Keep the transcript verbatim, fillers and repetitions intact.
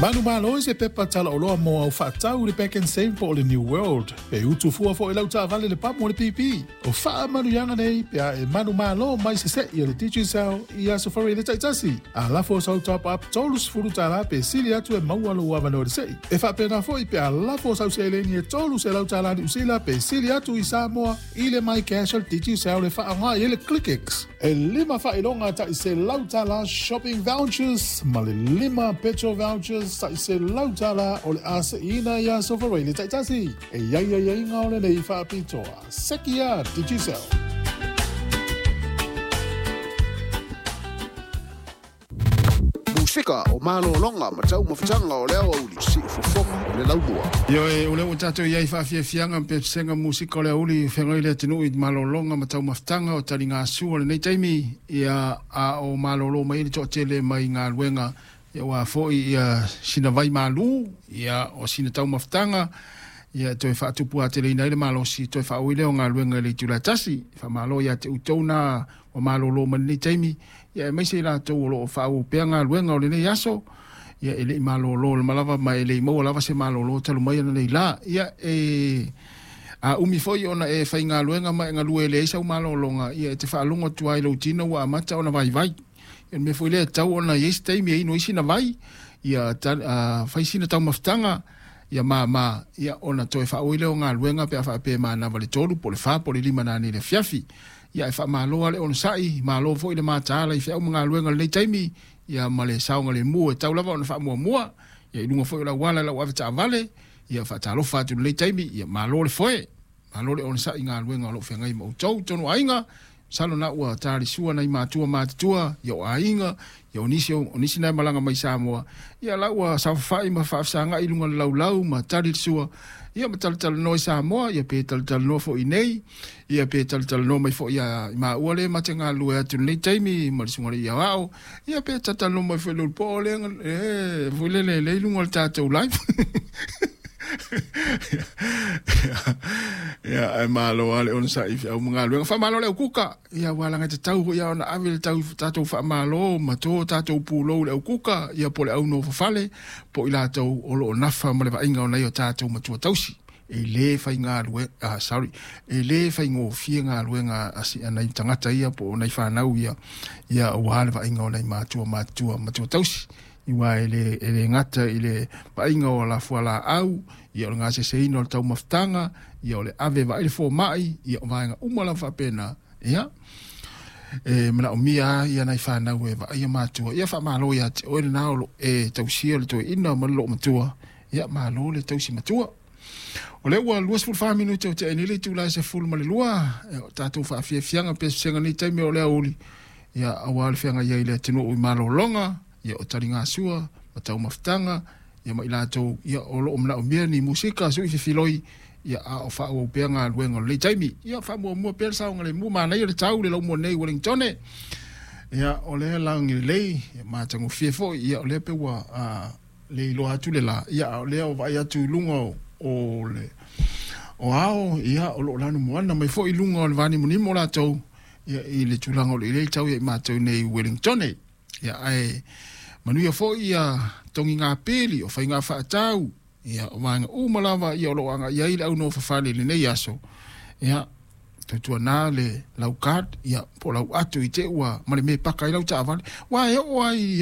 Manumalo i se pepa talaoloa mo au faatau i le Pak'nSave po o le New World. Pe utu fua foi lau taavale le pamu o le P P. O faamanuiaga nei pe a e manumalo mai se se'i a le Digicel i aso Faraile taitasi. A lafo sau top up tolu sefulu tala pe sili atu e maua lou avanoa i le se'i. E faapena foi pe a lafo sau seleni e tolu selau tala Niu Sila pe sili atu i Samoa i le MyCash a le Digicel e faaaoga i ai le ClickX. E lima faailoga tai selau tala shopping vouchers ma le lima petrol vouchers tai selau tala o le a se'iina i aso Faraile taitasi. E i ai aiaiga o lenei faapitoa. Sekia Digicel. Musika o malologa ma taumafataga o le aoauli siufofoga o le laumua. Ioe, o lea ua tatou i ai faafiafiaga ma pesega musika o le auli feagai le atunuu i malologa ma taumafataga o taligasua o lenei taimi, ia a o malolo mai le toatele mai galuega, ia ua foi ia sina vai malu, ia o sina taumafataga, ia toe faatupu ateleina ai le malosi toe faaui lea o galuega i le itula e tasi. Faamalo ia te outou na ua malolo mai lenei taimi, ia aemaise i latou o loo faaauau pea galuega o lenei aso, ia e lei malolo lama lava ma e lei maua lava se malolo talu mai ana nei la. Ia e a umi foi ona e faigaluega ma e galue e leai sau malologa, ia e te faalogo atu ai lou tino ua amata ona vaivai. Ia le mea foi lea e tatau ona i ai se taimi e inu ai sina vai, ia fai sina taumafataga, ia māmā, ia ona toe faaui lea o galuega pe a faapea e manava le tolu po o le fa po o le lima nanei i le afiafi. Ia e faamalo lava le onosai, malo foi le mataala i feau ma galuega o lenei taimi, ia ma le saogalemu e tau lava ona faamuamua, ia i luga foi o le auala i lau avetaavale, ia faatalofa atu i lenei taimi, ia malo le foe, malo le onosai i galuega o lo o feagai ma outou totonu o aiga. Masalo na ua talisua nai matua matutua, ia o aiga, ia o nisi, o nisi na e malaga mai Samoa, ia la ua saofafai ma faafesagai i luga o le laulau ma tali le sua, ia ma talatalanoa i Samoa, ia pe talatalanoa foi i nei, ia pe talatalanoa mai foi ia i maua le ma te galulue atu i lenei taimi ma le susuga i le Iaoao, ia pe talatalanoa mai foi i le ulupo le, e, foi lele le i luga o le tatou live. Ia, ae malo lava le onosai i feau ma galuega. Faamalo le au kuka. Ia, ua alaga tatau foi lava ona ave le tau, tatou faamalo ma to tatou pulou i le au kuka, ia po o le au nofofale, po o i latou o lo o nafa ma le vaaiga o nai o tatou matua tausi. E le faigalue, ah, sorry, e le faigofie galuega a, si, a nai tagata ia po o nai fanau ia, ia aua le vaaiga o nai matua matutua matua tausi. Aua e le, e le gata i le vaaiga o ala fualaau, ia o le gaseseina o le taumafataga, ia o le ave e vaai le fomai, ia o vaega uma lava faapena, ia e manaomia lava ia nai fanau e vaaia matua. Ia faamalo ia te oe lena o loo e tausia le toeaina ma le loomatua, ia malo le tausi matua. O lea ua luasefulu fa minute o tea nei le itula e sefulu ma le lua, e o tatou faafiafiaga pesega nei taimi o le aoauli, ia aua le feagai ai i le atunuu i malologa, ia o taligasua ma taumafataga, ia ma i latou ia o loo manaomia ni musika sui fefiloi, ia a o faaauau pea galuega o lenei taimi. Ia faamuamua pea le saogalemu, manaia le tau le laumua nei i Wellington. Ia o lea lagi lelei, ia matagofie foi, ia o lea pe ua a, le iloa atu le la, ia a o lea o vaai atu i luga o, o le o ao, ia o loo lanumoana mai foi i luga o le vanimonimo latou, ia i le tulaga o le lelei tau ia i matou nei i Wellington. Ia ae manuia foi ia togiga pili o faiga faatau, ia o vaega uma lava ia o loo agai ai le au nofofale i lenei aso. Ia tautuana le lau card, ia po o lau ato i te ua ma le mea e paka ai lau taavale, aua e oo lava i